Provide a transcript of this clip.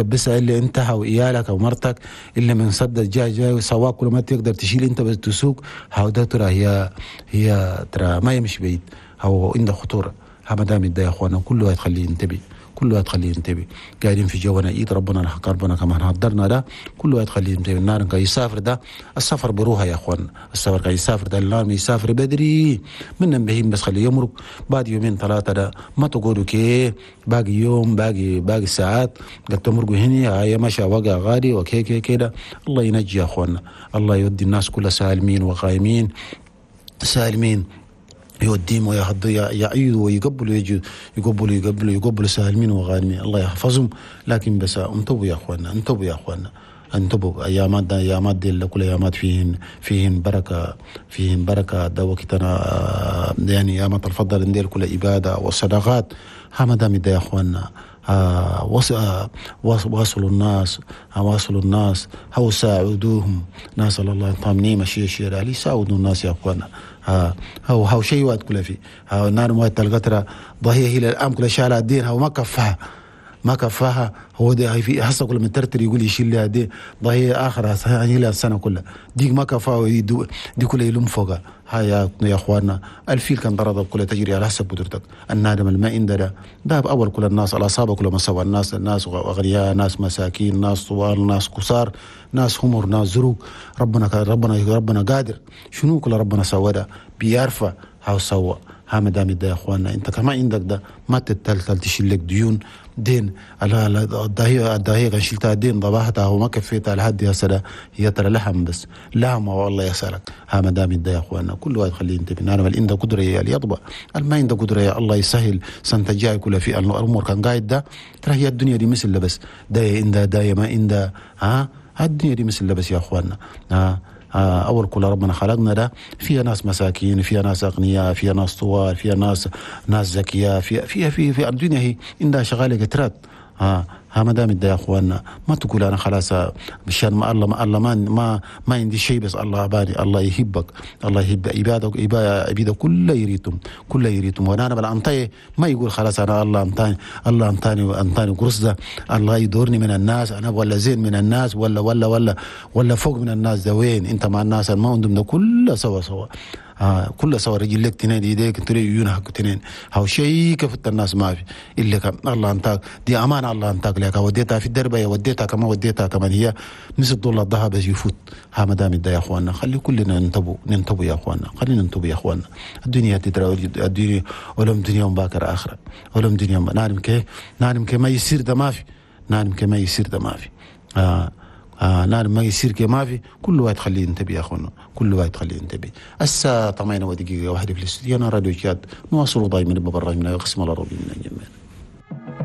بس اللي انت وإيالك او مرتك اللي من صد جاي جاي سواق كل ما تقدر تشيل انت بس تسوق، هاو ده ترى هي ترى ما يمشي بعيد، هو عنده خطورة. ها ما دام يا اخوانا كل واحد خليه ينتبه، كل واحد خليه ينتبه. قاعدين في جونا ايد ربنا ربنا كمان حضرنا ده، كل واحد خليه ينتبه. النار كان يسافر ده السفر بروحه يا اخوان، السفر كان يسافر ده النار يسافر بدري من بهيم بس خليه يمرق بعد يومين ثلاثة ده ما تقولوا كي باقي يوم باقي ساعات قد تمرقوا هنا هاي مشى وقع غالي وكي كي كده. الله ينجي يا اخواننا، الله يودي الناس كلها سالمين وقايمين سالمين، يوديهم ويهض يعيدوا ويقبلوا يجوا يقبلوا يقبلوا يقبلوا سالمين وغانمين، الله يحفظهم. لكن بس انتبهوا يا اخواننا، انتبهوا يا اخواننا، انتبهوا. ايامات ايامات دي كل ايامات فيهن بركة، فيهن بركة. ده وقتنا يعني ايامات الفضل ندير كل عباده وصدقات. ها ما دام يا اخواننا واصلوا الناس، واصلوا الناس، هو ساعدوهم ناس الله طامنين مشي شيء علي ساعدوا الناس يا اخوانا. هو هو شيء واد كله فيه ها نار موت القطرة ضهي هي الآن كل شيء على الدين هو ما كفاها، ما كفاها. هو ده في حصة كل من ترتر يقول يشيل لها دي ضهي آخر هي لها السنة كلها ديك ما كفاها دي كلها يلم فوقها. هاي يا اخواننا الفيل كان ضرب كلها تجري على حسب قدرتك. النادم الماء ده ده اول كل الناس الاصابة كل ما سوى الناس، الناس اغنياء، ناس مساكين، ناس طوال، ناس قصار، ناس همر، ناس زروق. ربنا ربنا ربنا قادر شنو كل ربنا سوى ده بيعرفه هاو سوى. ها ما دام يا اخواننا انت كمان عندك ده ما تتلتل تشيل لك ديون دين الدهية الدهية كان شلتها دين ضبحتها وما كفيتها لحد يا سلا هي ترى لحم بس لحم والله يسألك. ها ما دام يا اخواننا كل واحد خليه ينتبه. انا بل عنده قدره يا يطبع ما عنده قدره يا الله يسهل سنة الجاي كلها في الامور كان قاعد ده ترى هي الدنيا دي مثل بس ده عنده ده ما عنده. ها الدنيا دي مثل بس يا اخواننا. ها أول كل ربنا خلقنا ده فيها ناس مساكين، فيها ناس أغنياء، فيها ناس طوال، فيها ناس ذكية، فيها فيها في في الدنيا هي عندها شغالة كترات. ها ما دام يا اخواننا ما تقول انا خلاص مشان ما الله ما الله ما ما, ما عندي شيء بس الله باني. الله يحبك، الله يحب عبادك، عباده كله يريتم، كله يريتم. وانا بالانطي ما يقول خلاص انا الله انطاني، الله انطاني انطاني قرص ده الله يدورني من الناس انا ولا زين من الناس ولا ولا ولا ولا فوق من الناس. ده وين انت مع الناس ما عندهم ده كله سوا سوا. كله سوا رجلك تنين ايديك تري عيونك تنين هاو شيء كفت الناس ما في الا كم الله انتاك دي امانه الله انتاك لك وديتها في الدرب وديتها كما وديتها كمان هي مثل دولار الذهب يفوت. ها ما دام يا اخواننا خلي كلنا ننتبه، ننتبه يا اخواننا، خلينا ننتبه يا اخواننا. الدنيا تدرى الدنيا ولم دنيا باكر اخره ولم دنيا نعلم كيف نعلم كيف ما يصير ده ما في، نعلم كيف ما يصير ده ما في. نعم ما يصير كما في كل واحد خليه ينتبه يا اخوانا، كل واحد خليه ينتبه. الساعة 8 ودقيقة واحدة في الاستوديو راديو جاد نواصل دائما ببرنامجنا يقسم العربي من الجمال.